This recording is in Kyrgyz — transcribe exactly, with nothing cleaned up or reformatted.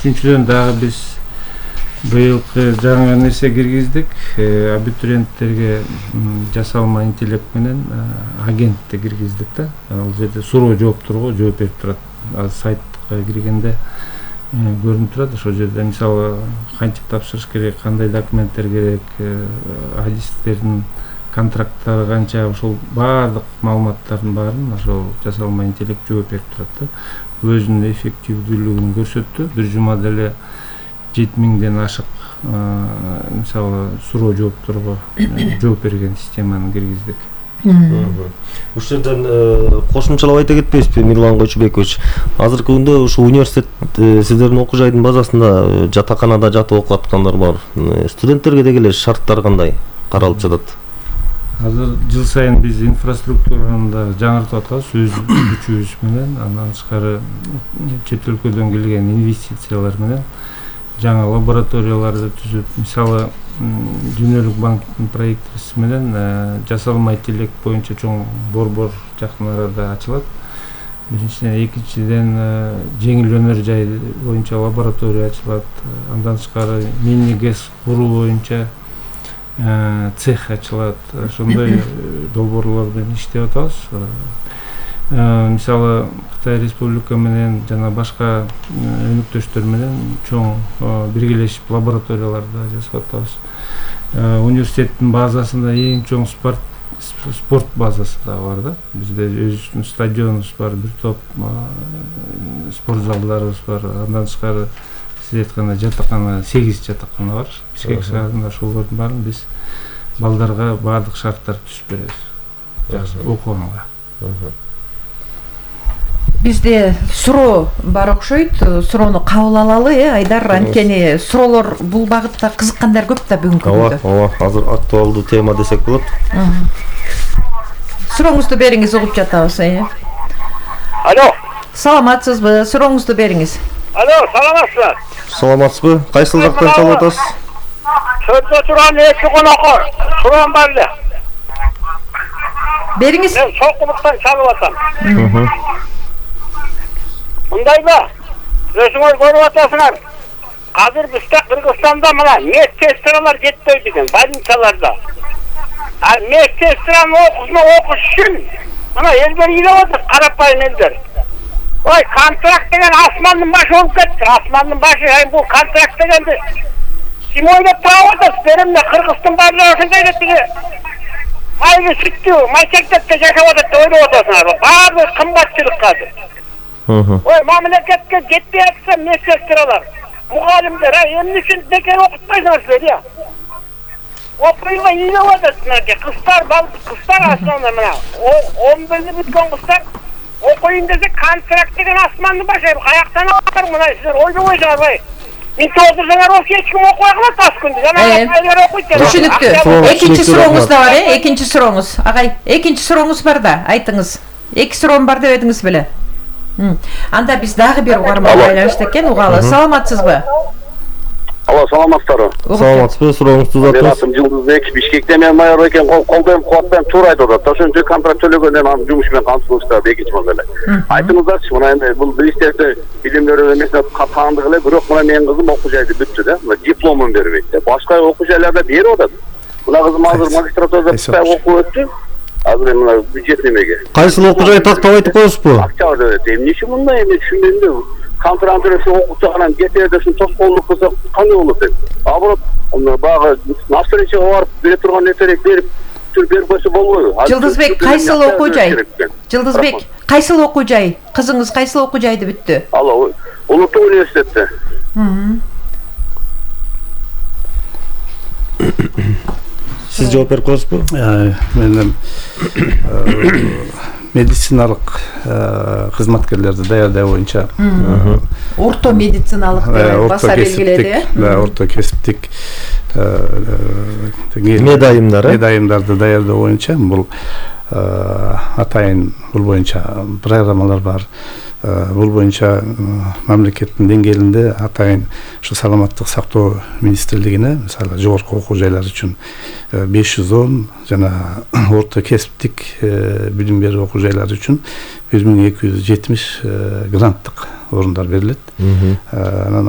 үчүнчүдөн дагы биз быйылкы жаңы нерсе киргиздик. Абитуриенттерге жасалма интеллект менен агентти киргиздик да. Ал жерде суроо жоопторго жооп берип турат. Сайтка киргенде көрүнүп турат. Ошол жерде мисалы кантип тапшырыш керек, кандай документтер керек, адистердин контракттары канча, ошол баардык маалыматтардын баарын ошол жасалма интеллект жооп берип турат да. Өзүнүн эффективдүүлүгүн көрсөттү. Бир жумада эле жети миңден ашык мисалы суроо жоопторго жооп берген системаны киргиздик. Ушул жерден кошумчалап айта кетпейсизби, Мирлан Койчубекович? Азыркы күндө ушу университет сиздердин окуу жайдын базасында жатаканада жатып окуп аткандар бар. Студенттерге деги эле шарттар кандай каралып жатат? Азыр жыл сайын биз инфраструктураны да жаңыртып атабыз өз күчүбүз менен, андан тышкары чет өлкөдөн келген инвестициялар менен жаңа лабораторияларды түзүп, мисалы Дүйнөлүк банктын проектиси менен жасалма интеллект боюнча чоң борбор жакын арада ачылат. Биринчиден, экинчиден жеңил өнөр жай боюнча лаборатория ачылат. Андан тышкары мини гэс куруу боюнча цех ачылат. Ошондой долбоорлор менен иштеп атабыз. Мисалы Кытай Республика менен жана башка өнөктөштөр менен чоң биргелешип лабораторияларда жасап атабыз. Университеттин базасында эң чоң спорт спорт базасы да бар да. Бизде өзүбүздүн стадионубуз бар, бир топ спорт залдарыбыз бар. Андан тышкары сиз айткандай жатакана, сегиз жатакана бар. Бишкек шаарында ошолордун баарын биз балдарга баардык шарттарды түзүп беребиз. Жакшы окуганга. Бизде суроо бар окшойт. Суроону кабыл алалы, э, Айдар. Анткени суроолор бул багытта кызыккандар көп да бүгүнкү күндө. Ооба, ооба, азыр актуалдуу тема десек болот. Сурооңузду бериңиз, угуп жатабыз, э. Алло. Саламатсызбы? Сурооңузду бериңиз. Алло, саламатсызбы? Саламатсызбы? Кайсыл жактан чалып атасыз? Чөптө турган эки конокко суроом бар эле. Бериңиз. Мен Сокулуктан чалып атам. Мындайбы? Өзүңөр көрүп атасыңар. Азыр бизде Кыргызстанда мына медсестралар жетпей деген больницаларда. А медсестраны окуусуна окуш үчүн мына элдер ыйлап атат, карапайым элдер. Ой, контракт деген асмандын башы болуп кетти. Асмандын башы, ай бул контракт дегенди ким ойлоп таап атат? Беримде Кыргыздын баардыгы ошондой деп тиги майлы сүттүү майчектепте жашап атат деп ойлоп атасыңар. Баардыгы кымбатчылык азыр. Ой, мамлекетке жетпей атса медсестралар, мугалимдер, ай эмне үчүн бекер окутпайсыңар силер, я? Окуйга ыйлап атат, кыздар, кыздар асманда мына он билип бүткөн кыздар окуйун десе контракт деген асмандын башы, каяктан алар мына силер ойлобойсуңар бай. Мен отурсаңар ошо эч ким окуй калат аз күндө. Жана айлар окуйт. Түшүнүктүү. Экинчи сурооңуз да бар, э? Экинчи сурооңуз. Агай, экинчи сурооңуз бар да, айтыңыз. Эки суроом бар деп эдиңиз беле? Анда биз дагы бир угарман байланышты экен, угалы. Саламатсызбы? Алло, саламатсыздарбы? Саламатсызбы? Сурооңузду uzatыңыз. Мен атым Жылдызбек, Бишкекте мен майор экен, колдойм, кубаттайм, туура айтып атат. Ошончо контракт төлөгөндөн анын жумуш менен камсыздыкта экинчи мында эле. Айтыңыздарчы, мына эми бул министрликте билимдер эмесине таандык эле, бирок мына менин кызым окуу жайды бүттү да. Мына дипломун бербейт. Башка окуу жайларда берип атат. Мына кызым азыр магистратурада окуп өттү. Азыр мына бюджет немеге. Кайсыл окуу жай тактап айтып коесузбу? Акча деп, эмне үчүн мындай эме түшүнбөйм. Контрактырсы окутсаган кетерде ушун тоскоолдук кылса кандай болот деп. Аброт багы навстречага барып бере турган нерселерди берип түр берип койсо болбойбу? Жылдызбек, кайсыл окуу жай? Жылдызбек, кайсыл окуу жай? Кызыңыз кайсыл окуу жайды бүттү? Алло, Улуттук университетте. Сиз жооп берип коесузбу? Мен медициналык кызматкерлерди даярдоо боюнча орто медициналык деп баса белгиледи. Да, орто кесиптик медайымдар, медайымдарды даярдоо боюнча бул атайын бул боюнча программалар бар. Бул боюнча мамлекеттин деңгээлинде атайын ушу саламаттык сактоо министрлигине, мисалы, жогорку окуу жайлар үчүн беш жүз он жана орто кесиптик билим берүү окуу жайлары үчүн бир миң эки жүз жетимиш гранттык орундар берилет.